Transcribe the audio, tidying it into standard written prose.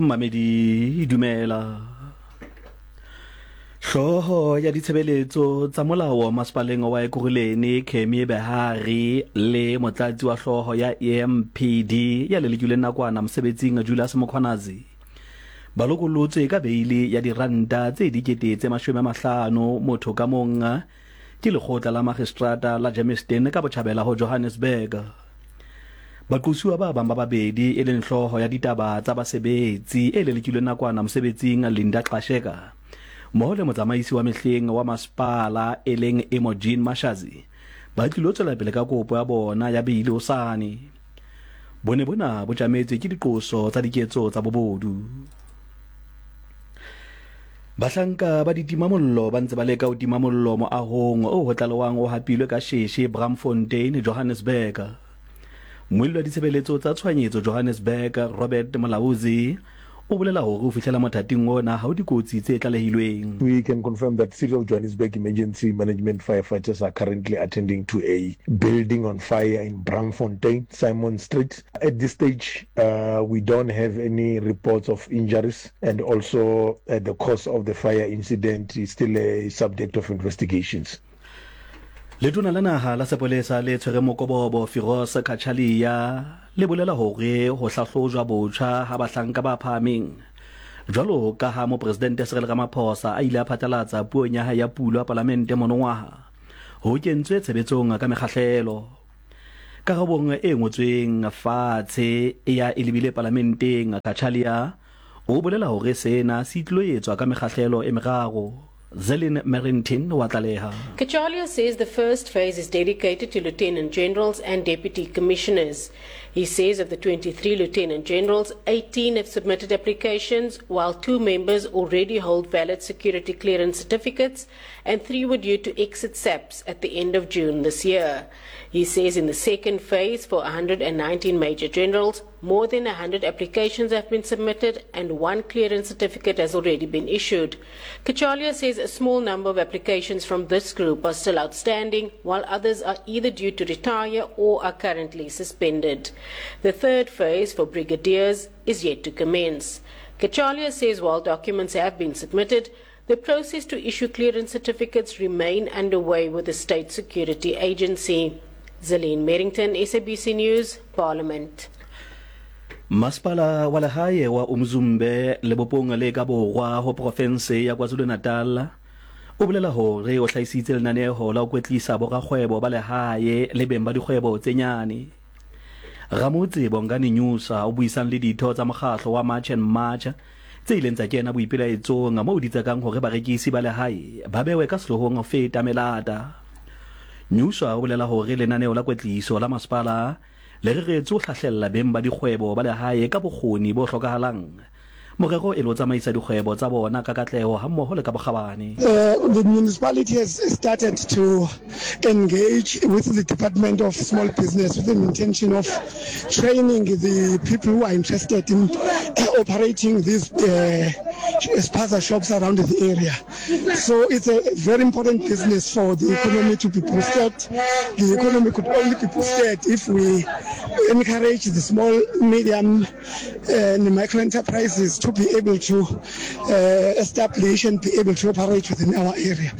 Mmamedi, dumela. Hlooho ya ditshebeletso tsa molao masepaleng wa Ekurhuleni, Kemi Behari, le motlatsi wa hlooho ya EMPD ya lelekilweng nakwana mosebetsing Julius Mkhwanazi, ba lokolotswe ka beili ya diranta tse 500,000 motho ka mong ke lekgotla la magistrata la Germiston ka botjhabela ho Johannesburg. Baqosuwa ba bang ba babedi e leng hlooho ya ditaba tsa basebetsi e lelekilweng nakwana mosebetsing Linda Xasheka mmoho le motsamaisi wa mehleng wa masepala e leng Imogene Mashazi ba tlilo tswela pele ka kopo ya bona ya beili hosane. Bone bona bo tjametswe ke diqoso tsa diketso tsa bobodu. Bahlanka ba ditimamollo ba ntse ba leka ho tima mollo moahong oo ho tlalewang o hapilwe ka sheshe Braamfontein, Johannesburg. Mmuelli wa ditshebeletso tsa tshohanyetso Johannesburg, Robert Molaozi, o bolela hore ho fihlela mothating ona ha ho dikotsi tse tlalehilweng. We can confirm that City of Johannesburg Emergency Management firefighters are currently attending to a building on fire in Braamfontein, Simon Street. At this stage, we don't have any reports of injuries and also the cause of the fire incident is still a subject of investigations. Letona la naha la sepolesa le tshwereng mokobobo Firoz Cachalia le bolela hore ho hlahlojwa botjha ha bahlanka ba phahameng jwalo ka ha Mopresidente Cyril Ramaphosa a ile a phatlalatsa puong ya hae ya pulo ya palamente monongwaha ho kentswe tshebetsong ka mekgahlelo. Karabong e ngotsweng fatshe ya e lebile palamenteng, Cachalia o bolela hore sena se tlilo etswa ka mekgahlelo e meraro. Zelin Merrington wa tlaleha. Cachalia says the first phase is dedicated to lieutenant generals and deputy commissioners. He says of the 23 lieutenant generals, 18 have submitted applications, while two members already hold valid security clearance certificates and three were due to exit SAPS at the end of June this year. He says in the second phase for 119 major generals, more than 100 applications have been submitted and one clearance certificate has already been issued. Kachalia says a small number of applications from this group are still outstanding, while others are either due to retire or are currently suspended. The third phase for brigadiers is yet to commence. Kachalia says while documents have been submitted, the process to issue clearance certificates remain underway with the State Security Agency. Zelene Merrington, SABC News, Parliament. Masepala wa lehae wa Umzumbe lebopong le ka borwa ho profense ya KwaZulu-Natal o bolela hore o hlahisitse lenaneho la ho kwetlisa borakgwebo ba lehae le beng ba dikgwebo tse nyane. Ramotse Bongani Nyusa o buisang le ditho tsa mokgahlo wa March and March tse ileng tsa kena boipelaetsong moo di tsekang hore barekisi ba lehae ba bewe ka sehlohong ho feta melata. Nyuswa o bolela hore lenaneo la kwetliso la masepala le reretswe ho hlahlella beng ba dikgwebo ba lehae ka bokgoni bo hlokahalang, morero e le ho tsamaisa dikgwebo tsa bona ka katleho hammoho le ka bokgabane. The municipality has started to engage with the Department of Small Business with an intention of training the people who are interested in operating these spaza shops around the area. So it's a very important business for the economy to be boosted. The economy could only be boosted if we encourage the small, medium and micro enterprises to be able to establish and be able to operate within our area.